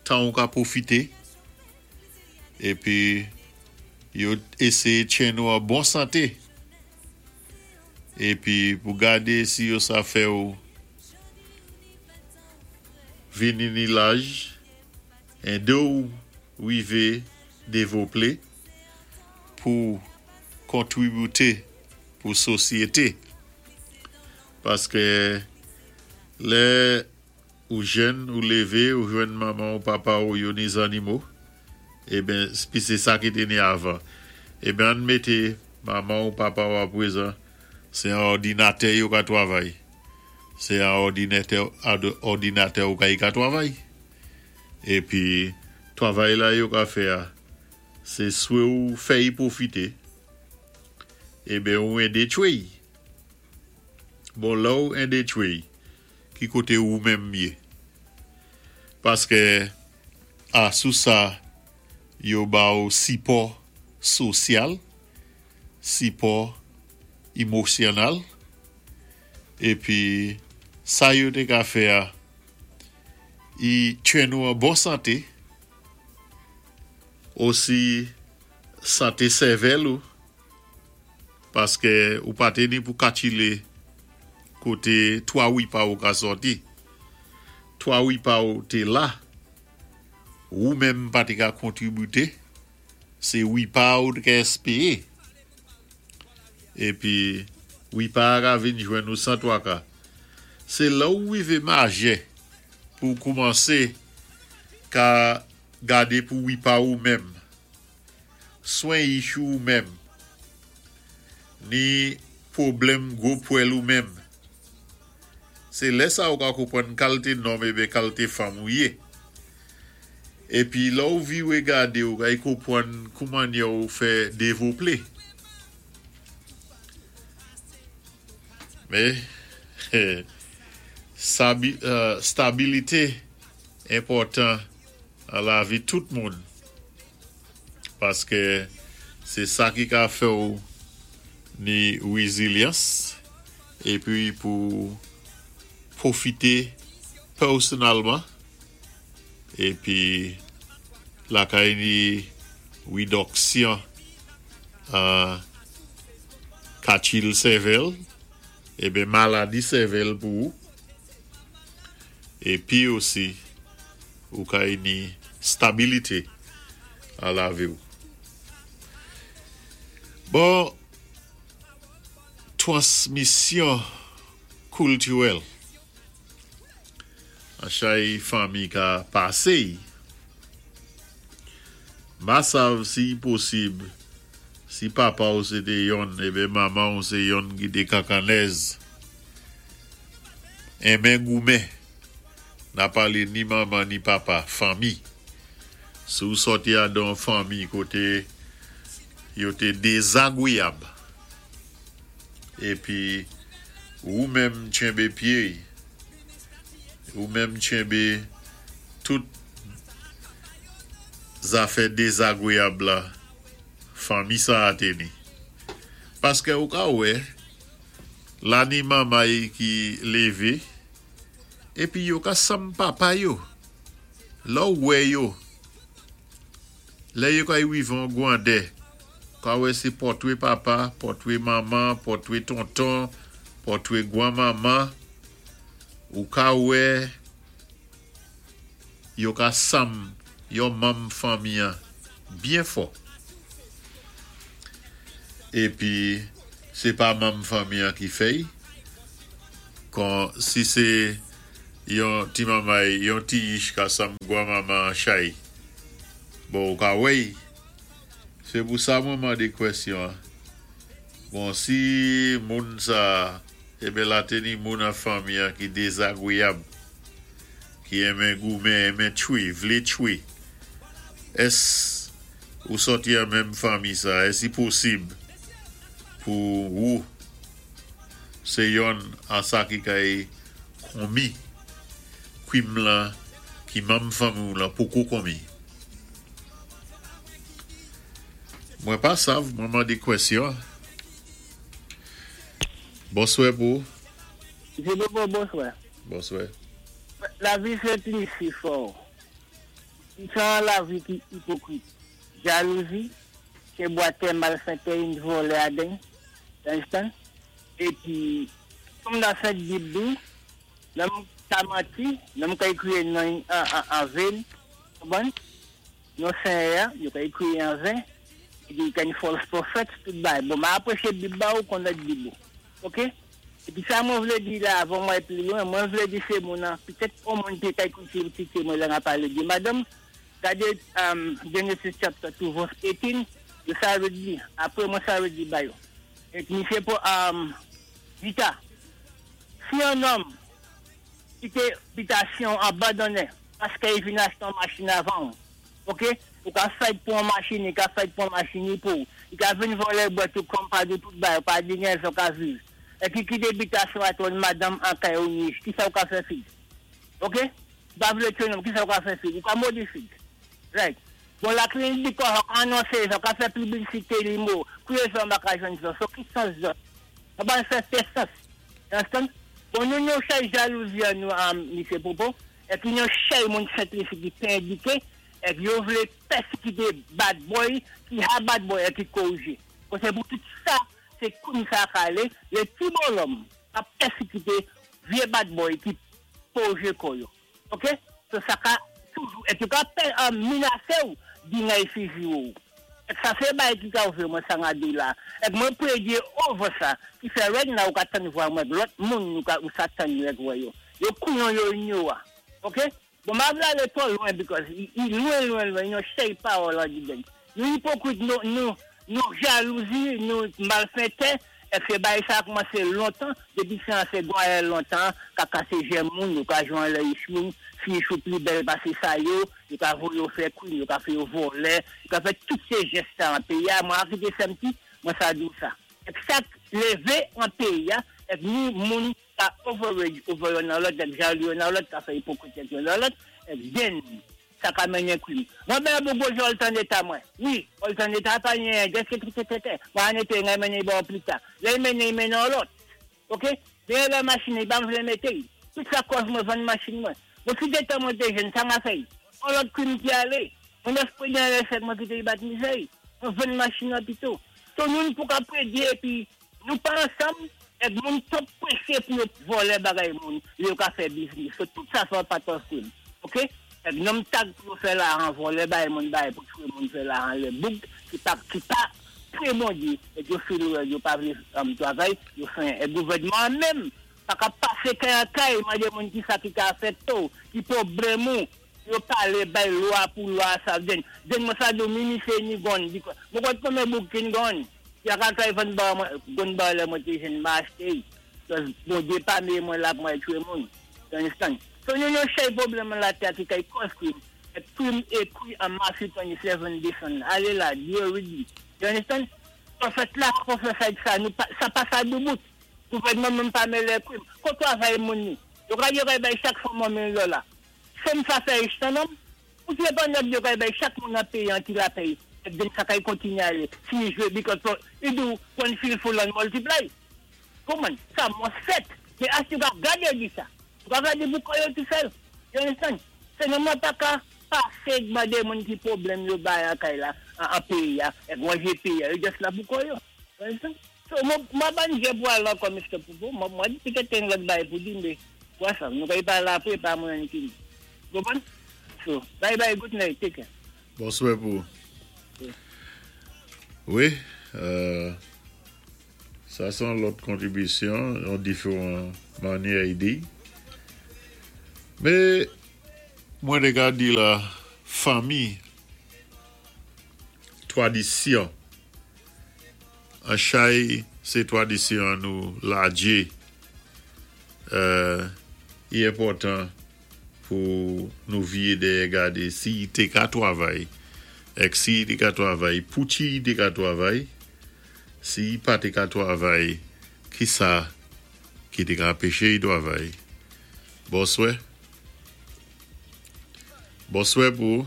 tan ou ka pwofité épi yo éséyé tjenn ou an bon santé. Épi pou gadé si yo sa fè ou vini ni laj, édé ou wivé dévloplé pou kontwibité pou sosyété. Paské lè ou jèn, ou lévé, ou jwenn manman ou papa ou yo ni zannimo, é ben, pi sé sa ki té ni avan. É ben, ann mété manman ou papa ou apwézan, sé an òdinatè yo ka twavay. Sé an òdinatè, òdinatè ou kay ka twavay. Épi, twavay la yo ka fè a, sé swé ou fè y pwofité, é ben ou édé tchwé. Bon, la ou édé tchwé, ki koté ou menm yé. Paské, a sou sa, yo ba ou sipò sosyal, sipò émosyonal, épi sa yo té ka fè a, i tjenn ou an bon santé, osi santé sèvèl ou, paské ou pa té ni pou katchilé koté twa wipa ou ka sòti. Twa wipa ou té la, ou menm pa té ka kontwibité, sé wipa ou té ka éspéwé. Épi, wipa ka vin jwenn ou san twaka. Sé la ou wivé majè pou koumansé ka gadé pou wipa ou menm. Swen ichou ou menm. Ni pwoblèm gwo pwèl ou menm. Sé lè sa ou ka konpwann kalité nonm é ben kalité fanm ou yé. Épi la ou viwé gadé ou kay konpwann kouman ou fè dévloplé. Mé, sabi, euh, stabilité enpòtan an lavi tout moun. Paské sé sa ki ka fè ou ni wézilyans épi pou pwofité pèsonèlman épi la kay ni wédiksyon euh, katchil sèvèl é ben maladi sèvèl pou ou. Épi osi ou kay ni stabilité an lavi ou. Bon, twansmisyon kiltirèl. An chay fanmi ka pasé. Ma sav si posib, si papa ou sé té yonn, é ben manman ou sé yonn ki té kankanèz. Enmen goumen. N'a palé ni manman ni papa, fanmi. Si ou sòti adan fanmi koté yo té dézagwéyab. Épi ou menm tjenbé pyé, ou menm tjenbé tout zafè dézagwéyab la, fanmi sa a té ni. Paské ou ka wè, la ni manmay ki lévé, épi yo ka sanm papa yo. La ou wè yo, lè yo kay wivé an gwandè, ka wè sé pòtwé papa, pòtwé manman, pòtwé tonton, pòtwé gwan manman, ou ka wè yo ka sanm yon manm fanmi an byen fò. Épi, Sé pa manm fanmi an ki fè, kon si sé yon ti manmay, yon ti yich ka sanm gwanmanman chay. Bon, ou ka wèy. Sé pou sa mwen mandé kwèsyon. Bon, si moun sa, ébé la té ni moun an fanmi an ki dézagwéyab, ki enmen goumen, enmen tchwé, vlé tchwé, ès ou sòti an menm fanmi sa, ès i posib pou ou sé yonn an sa ki kay konmi, kwim lan, ki manm fanmi ou lan poko konmi. Mwen pa sav, mwen mandé kwèsyon. Bonswè pou. Jé bonswè. Bonswè. Lavi sé plis si fò. Sa lavi ki ipokrit. Jalouzi, sé bwatè malfètè yon vòlè aden. Understand? Épi, kòm nan Sent Bib di, nonm ka manti, nonm ka ékwi nan an ven, bon? Non Senyè, yo ka ékwi an ven, épi gen false prophet, tout bay. Bon, ma apwéché Bib ba ou kon lòt Bib ou. OK? Épi sa mwen vlé di la avan mwen pli lwen, mwen vlé di sé moun an, pitèt on moun ki ka ékouté ti mwen la palé di madanm, gadé um, Genesis chapter two verse eighteen, yo sa vlé di, apwé mwen sa vlé di ba yo. Épi sé pou um, Vita, si yon nonm kité bitasyon abandoné paské i vin achté yon machin avan, OK? Ou ka fight pou yon machin, i ka fight pou yon machin pou, i ka vin vòlè bwat ou kon pa di tout bay, pa di gen so ka viv. Épi kité bitasyon a ton madanm an kay ou ni, ki sa ou ka fè fi? OK? Pa vlé tchwé nonm, ki sa ou ka fè fi? Ou ka modi fi. Right. Bon, la klinik di kò anonsé, sa ka fè piblisité li mo, kouwè sa maka jwenn sa, so ki sans sa? Sa pa fè fè sans. Understand? Bon, nou nou chay jalouzi an nou am, Misye Popo, épi nou chay moun Sent-Lisi ki pa édiké, épi yo vlé pèsékité bad boy, ki ha bad boy épi korijé. Bon, sé pou tout sa, sé koun sa ka alé, lé ti bonòm ap pèsékité vyé bad boy ki korijé kò yo. OK? So sa ka toujou, épi ka pè an menasé ou, di ngay fizi ou. Épi sa fè bay ki ka ouvè mwen sa nga di la. Épi mwen prédié over sa, ki fè right now ou ka tann vwa mwen, lòt moun ou ka ou sa tann yo wè yo. Yo kouyon yo inyo wa. OK? Bon, ma vle alé twò lwen because i, i lwen lwen lwen, yo chay pawòl an di den. Nou ipokrit, nou, nou, nou jalouzi, nou malfètè, épi bay sa koumansé lontan, dépi sé an sé gwaye lontan, ka kasé jè moun, yo ka jwen lè yichou, fi yichou pli bèl pasé sa yo, yo ka voye yo fè kwim, yo ka fè yo vòlè, yo ka fè tout sé jès sa an péyi a, mwen Afrique S M T, mwen sa dou sa. Épi sa lévé an péyi a, épi nou moun ka overrage over yon nan lòt, épi jalou yon nan lòt, ka fè ipokrit yon nan lòt, épi den, sa ka mennen kwim. Mwen ben bou gojè ol tan d'état mwen. Wi, ol tan d'état pa nye, deske tout tete. Mwen an été ngay mennen bon pli ta. Lè mennen, mennen lòt. OK? Dèyè la machin, i pa m vlé mété. Tout sa kòz mwen vann machin mwen. Bon, si d'état mwen té jèn, sa m'a fè. On lòt kwim ki alé. Mwen espri den lè fèt mwen kité i bat mizè. Mwen vann machin nan pito. So nou pou ka prédié épi nou pa ansanm, épi moun twòp pwésé pou yo vòlè bagay moun, yo ka fè business. So tout sa fè part of crime. OK? Épi nonm tag pou fè lajan vòlè bay moun bay pou tchwé moun fè lajan lé boug ki pa ki pa très bon di épi yo fè yo pa vlé um, travay, yo fè é gouvèdman menm pa ka pasé kay an kay, mandé moun ki sa ki ka fè to, ki pwoblèm ou, yo palé bay lwa pou lwa sa den. Den mwen sa do mini sé ni gun because mwen konn konbyen boug ki gun. Ya ka kay vann ba mwen gun ba lè mwen té jèn ma achté. Because bon Dieu pa mé mwen la pou mwen tchwé moun. You understand? So nou nou chay pwoblèm la tè ki kay cause crime. É crime ékwi an Matthew twenty-seven desann. Alé la, Dieu ready. You understand? En fait là, pour faire ça, ça, nous, ça passe à deux bouts. Gouvèdman menm pa mélé crime. Kon travay moun ni. Yo ka yo kay bay chak fwa mwen mil dola. Sem sa fè rich nan nonm? Ou ti pa nèg yo kay bay chak moun nan péyi an ki la péyi. É den sa kay kontiné alé. Si jwé because you do one feel full and multiply. Kouman? Sa mwen fèt. Mais as tu ka gadé di sa? Tu ka gadé pou koyo tout seul. You understand? C'est non pa ka pasé mandé moun ki pwoblèm yo bay an kay la, an, an péyi a, é mwanjé péyi a, yo just la pou koyo. You understand? So, mwen mwen ban jè pou al ankò, Mister Popo, mwen mwen di petèt yon lòt bay pou di, mé, kwa sa, nou kay pa la apwé, pa mwen ki. Konpwann? So, bye bye, good night, take care. Bonswè pou. Yeah. Wi, euh, Sa sé yon lòt kontribisyon, an diféwan mannyè i di. Mé mwen té ka di la fanmi, twadisyon. An chay sé twadisyon nou ladjé. Euh, i enpòtan pou nou viyé dèyè gadé si i té ka twavay èk si i té ka twavay pouki i té ka twavay si i pa té ka twavay ki sa ki té ka anpéché i twavay bonswè bonswè pou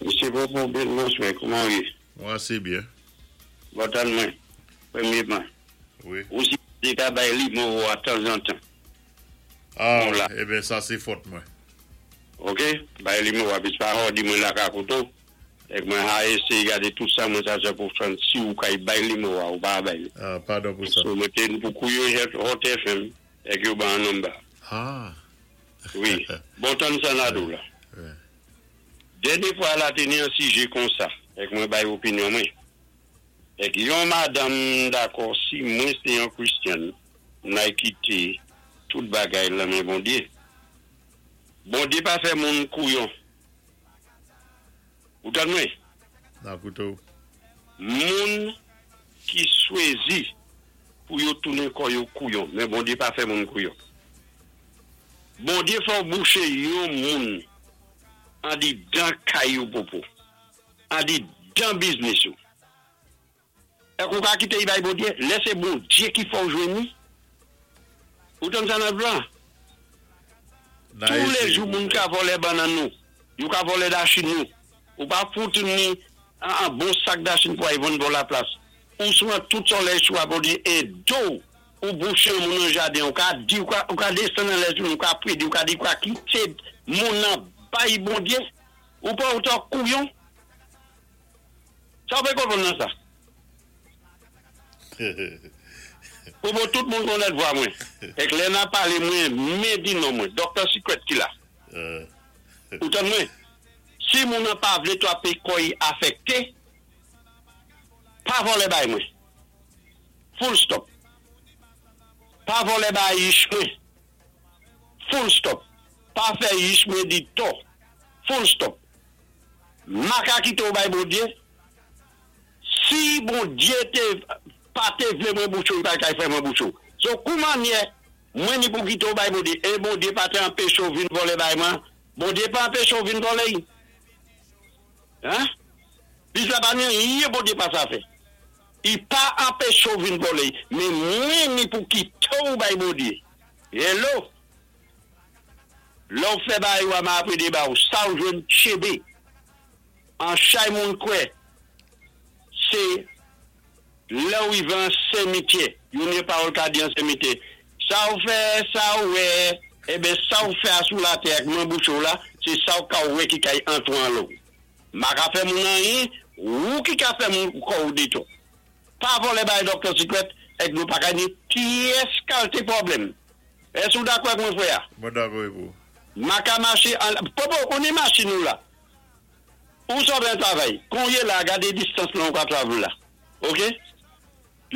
Msye Popo, bèl bonswè, kouman ou yé? Mwen asé byen. Bon tann mwen, pwémyéman. Wi. Ou si té ka bay nimewo a tanzantan. Ah, Bon la. Eben sa sé fòt mwen. Ok? Bay nimewo a, pis pa òdi mwen la ka kouto. Èk mwen a éséyé gadé tout sa mwen sa fè pou fè si ou kay bay nimewo a ou pa bay. Ah, padon pou sa. So mwen té pou kouye Hot F M èk yo ban number. Ah. Wi. Bon tann sa nadou la. Wi. Dènyé fwa la té ni an sijé kon sa, èk mwen bay opinyon mwen. Èk yon madanm dakò si mwen sé yon Christian, nay kité tout bagay lan men Bondyé. Bondyé pa fè moun kouyon. Ou tann mwen? Nan kouto. Moun ki chwazi pou yo tounen kò yo kouyon, men Bondyé pa fè moun kouyon. Bondyé fò bouché yon moun an di dan kay ou Popo. An di dan biznis ou. Èk ou ka kité y bay Bondyé, lè sé Bondyé ki fò jwenn ni. Ou tann sa nan blan? Na Tous les éséyé jou pou moun fè. Ka vòlè bannann nou. Yo ka vòlè dachin nou. Ou pa fout ni an, an bon sak dachin pou ay vann bò la plas. Ou souwan tout solèy sou a Bondyé e do ou bouché moun nan jaden, ou ka di, ou ka, ou ka desann nan lè ou ka prédi, ou ka di, ou ka kité moun nan bay Bondyé, ou pa ou kouyon. Sa ou pé konpwann nan sa? Pou bon tout moun konnèt vwa mwen. Èk lè na palé mwen, mwen di non mwen, Doctor Secret ki la. Euh, Ou tann mwen? Si moun nan pa vlé to pé kò'y afekté, pa vòlè bay mwen. Full stop. Pa vòlè bay yich mwen. Full stop. Pa fè yich mwen di to. Full stop. Ma ka kité ou bay Bondyé, si Bondyé té pa té vlé mwen bouchou, pa kay fè mwen bouchou. So kouman nye, mwen ni pou kité ou bay Bondyé, é Bondyé pa té anpéché ou vin vòlè bay mwen, Bondyé pa anpéché ou vin vòlè yi. Hein? Pi sa pa ni yé Bondyé pa sa fè. I pa anpéché ou vin vòlè, mé mwen ni pou kité ou bay Bondyé. Hello? Lò ou fè bay ou a ma apre déba ou, sa ou jwenn tchébé. An chay moun kwè, sé lè ou i van sémityè, yon ni pawòl ka di an sémityè. Sa ou fè, sa ou wè, eben sa ou fè a sou la tè ak mwen bouchou la, sé sa ou ka wè ki kay antwan lò. Ma ka fè moun an yin, ou ki ka fè moun kò ou dito. Pa vòlè bay Doctor Secret, èk nou pa ka ni pyès kalté pwoblèm. Ès ou dakò ak mwen fwè a? Mwen dakò avè ou. Ma ka maché an... Popo, ou ni machin nou la. Ou sot an travay. Kon yé la, gadé distans lan ou ka travel la. Ok?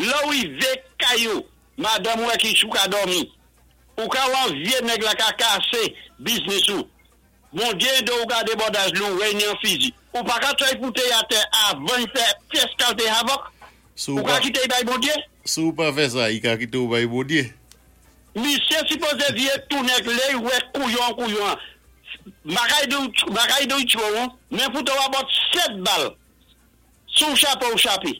Là ou i vé kayou, madame wè ki chou ka dormi. Ou ka wan vyé nèg la ka kasé biznis ou. Bondyé do ou ka débordaj lou, wè ni an fizi. Ou pa ka tray fouté a tè avan y fè pyès kalté havok. Sou Ou ka pa, kité y bay Bondyé. Sou pa fè sa, i ka kité ou bay Bondyé. Misye sipoze viye tou nèg lè wè kouyon kouyon. Bagay de bagay de chou, men foute ou about sèt bal. Sou chape ou chape.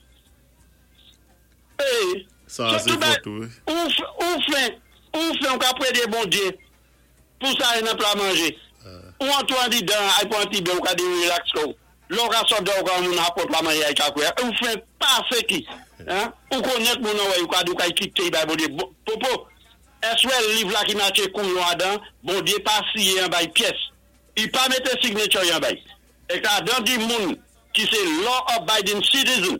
Eh, Sa, so sé tout ba- fòt ou. Ou f- ou fè, ou fè ou ka prédé Bondyé pou sa yon nan pla manjé. Ou an tou an di dan, ay pou an ti be ou ka di relax ko. Lò ka sot da ou ka moun apot pla manje ay ka kwe. Ou fè pa sé ki. Hein? Ou konnèt moun nan wè, ou ka di ou ka kité bay Bondyé. Bo- Popo, ès wè liv la ki maché kouyon adan, Bondyé pa siye an bay pyès. I pa mété signature yon bay. É ka dan di moun ki sé law abiding citizen,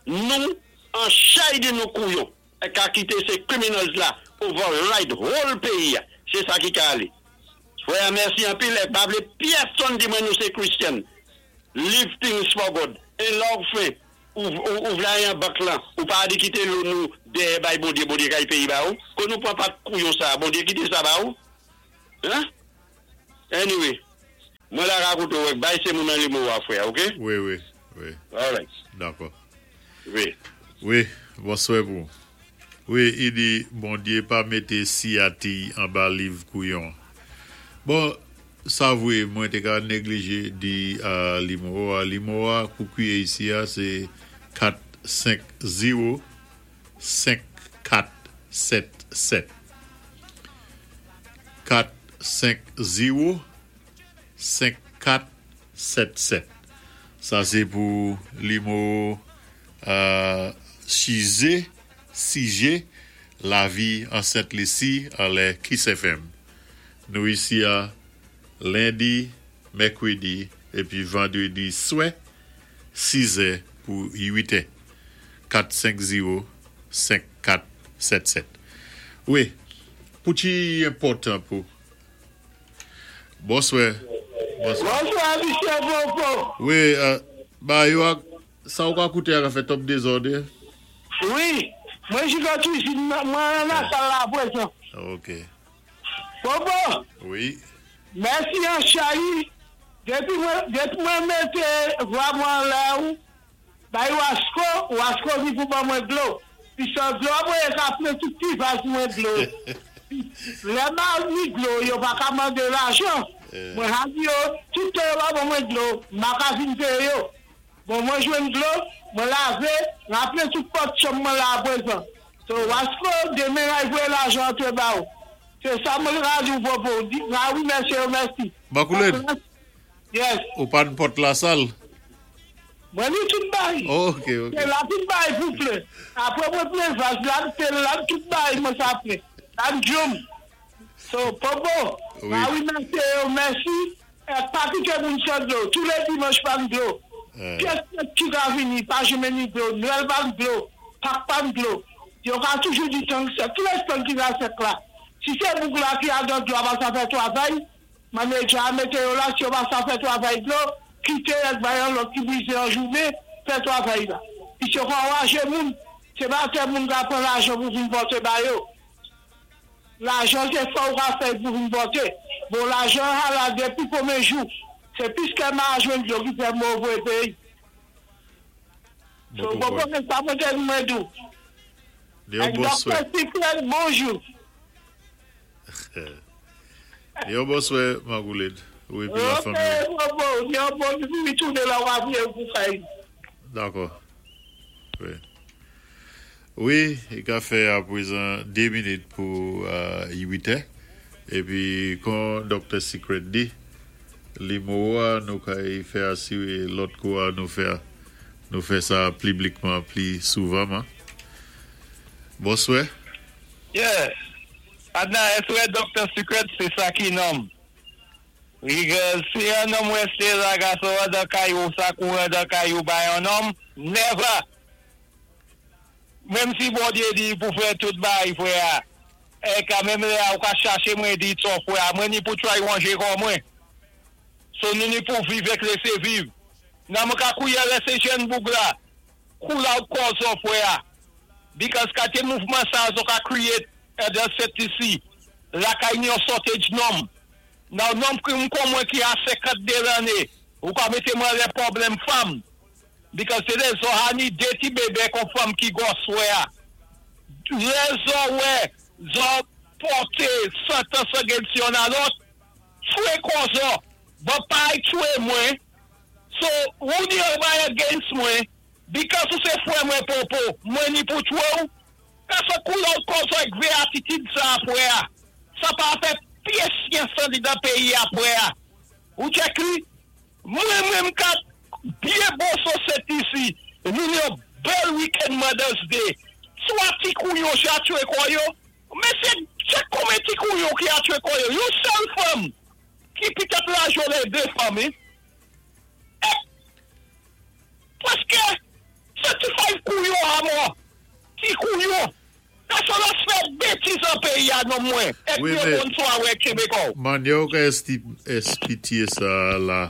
nou, an chay di nou kouyon, é ka kité sé criminals la, override whole péyi a. Sé sa ki ka alé. Fwè, mèsi an pil, é pa vlé pyèsonn di mwen nou sé Christian. Leave things for God. É lò ou fè, Ou, ou, ou vla yon bank lan, ou pa di kité loan nou déyè bay Bondyé, Bondyé kay péyé ba ou. Kon nou pwan pa kouyon sa, Bondyé kité sa ba ou. Hein? Anyway, mwen la rakonté ou, bay sé moun nan nimewo a frè, ok? Wi, wi, wi. All right. Dakò. Wi. Wi, bonswa pou. Wi, i di, Bondyé pa mété siyati anba liv kouyon. Bon, sa vwé, mwen té ka neglijé di uh, nimewo a. Nimewo a pou kwié isi a, sé kat senk zewo senk kat sèt sèt. kat senk zewo senk kat sèt sèt. Sa sé pou nimewo euh, Chizé, Sijé, Lavi an Sent Lisi, anlè Kiss F M. Nou isi a lendi, mèkwédi, épi vandwédi swè, sis è pou uit è. kat senk zewo senk kat sèt sèt. Wi, pou ti enpòtan pou. Bonswa. Bonswa. Bonswa, Michel Popo. Wi, euh, ba yo a, sa ou ka kouté a ka fè twòp dézòd? Wi, mwen ji nan kwizin, mwen nan sal la pwézan. Ok. Popo, Wi. mèsi an chayi, dépi mwen, dépi mwen mété vwa mwen la ou, bay Wasko, Wasko vi pou ban mwen dlo. Pi sa dlo mwen ka plen tout ti vas mwen dlo. Lè ma ni dlo, yo pa ka mandé lajan. Mwen ha di yo, tout yo pa ban mwen dlo, ma ka vin péyé yo. Bon, mwen jwenn dlo, mwen lavé, mwen plen tout pòt chanm mwen la pwézan. So, Wasko, demen ay voyé lajan antré ba ou. Sé sa mwen ra di ou Popo. Di, ah wi, mèsi, mèsi. Makoulèd, Yes. Ou pa n pòt la sal? Mwen ni tout bay. Ok, ok. Sé la tout bay pou plen. Apwé mwen plen vas, la sé la tout bay mwen sa plen. La djoum. So, Popo, Wi. Ah wi, mèsi, mèsi. Eh, pa kité moun san dlo. Tou lé dimanch pa dlo. Euh. Pyès ki ka vini, pa janmen ni dlo. Nwèl pa dlo. Pak pa dlo. Yo ka toujou di tank sèk. Tou lé tan ki la sèk la. Si sé boug la ki a dan dlo a pa sa fè twavay, manager a mété yo la, si yo pa sa fè twavay dlo, kité ek bay an lòt ki bwizé an jounen, fè twavay la. Pi sé kwa waje moun, sé pa té moun ka pran lajan pou vin pòté ba yo. Lajan sé fò ou ka fè pou vin pòté. Bon, lajan a la dépi konbyen jou. Sé piské ma jwenn dlo ki fè move péyi. So, Bon, bon, bon. bon, sa mwen te mwen dou. Yon Ek bonswa. Docteur Secret, bonjou. Yon bonswa, Magoulèd. Wi, pi la Ok, fanmi. bon, bon, yon bon, pi tounen la wap pou fè. Dakò. Wi. Wi, i ka fè a pwézan dé minit pou euh, uit è. Épi, kon Docteur Secret di, nimewo a nou kay fè asiré lòt kou a nou fè nou fè sa piblikman pli souvan. Hein? Bonswa. Yeah. Adna, èské Docteur Secret, sé sa ki nonm? Because si yon nonm wésté la gason dan kayou, sa kouran dan kayou bay yon nonm, never. Menm si Bondyé di pou fè tout bay, frè. É kanmenm la, ou ka chaché mwen di son frè, mwen ni pou try wanjé kon mwen. So nou ni pou viv ek lésé viv. Nan mwen ka kouye lésé jèn boug la. Cool out kò son frè. Because kate mouvman sa zo ka create dan C T C. La kay ni yon shortage nonm. Nan nonm ki m kon mwen ki a senkant de lanné, ou ka mété mwen lé pwoblèm fanm. Because sé lé zo hani dé ti bébé kon fanm ki gòs wè a. Lé zo wè, zo pòté santans against yon a lòt, tchwé kon zo. But pa ay tchwé mwen. So, ou ni yon bay against mwen, because ou sé fwè mwen Popo, mwen ni pou tchwé ou, ka sa cool out kon zo ek vwé atitid sa apwé a. Sa pa fè pyès yon san di dan péyi apwé a. Ou tchèk li? Mwen mwen mka byen bon so isi, nou yon bèl weekend Mother's Day. Swa ti kouyon ja tchwé kon yo, men sé tchèk konbyen ti kouyon ki a tchwé kon yo. Yon sèl fanm ki pitèt la jolé dé fanm, eh? Eh, paské thirty-five kouyon a mò. Ti kouyon. Ka sa la fè bétiz an péyi a non mwen. Ek Wi, yon mé- bon swawé Québécois. Manyè ou ka esti espitié sa la,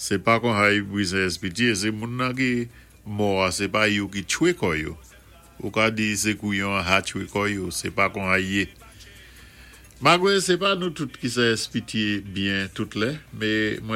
sé pa kon hay bwizen espitié, sé moun nan ki Mò, sé pa yo ki tchwé kò yo. Ou ka di sé kouyon ha tchwé kò yo, sé pa kon a yé. Magwé, sé pa nou tout ki sa èspitié byen tout lè, mé mwen